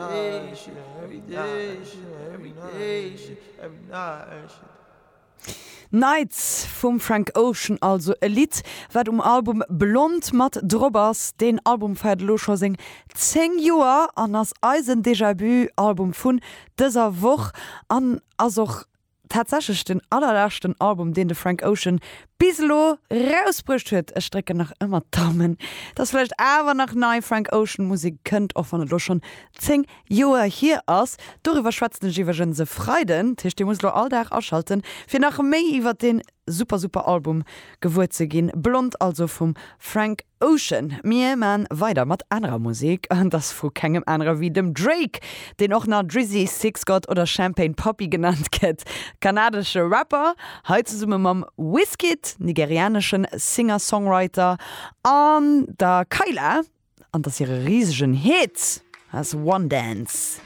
day, shit, every day, shit, every day, shit, every night, shit. Nights vum Frank Ocean, also e Lidd wat um Album Blond mat drop ass. Deen Album feiert elo scho seng 10 Joer an ass eisen Déjà-Vu Album vun dëser Woch an ass och tatsächlech den allerleschten Album deen de Frank Ocean bis elo rausbruecht huet. Ech drécken nach ëmmer d'Daumen, dass vläicht awer nach nei Frank Ocean Musek kënnt, och wann et elo schonn 10 Joer hier ass. Doriwwer schwätzen ech iwwregens e Freiden, dat heescht dir musst elo all Dag aschalten fir nach méi iwwert deen super super Album gewuer ze ginn. Blond also vum Frank Ocean. Mir maan weider mat anerer Musek an dass vu kengem anere wéi dem Drake, deen och nach Drizzy, Six God oder Champagne Papi genannt gëtt. Kanadesche Rapper, hei zesumme mam Wizkid, nigerianeschen Singer-Songwriter an der Kyla. An dass hire risegen Hit ass One Dance.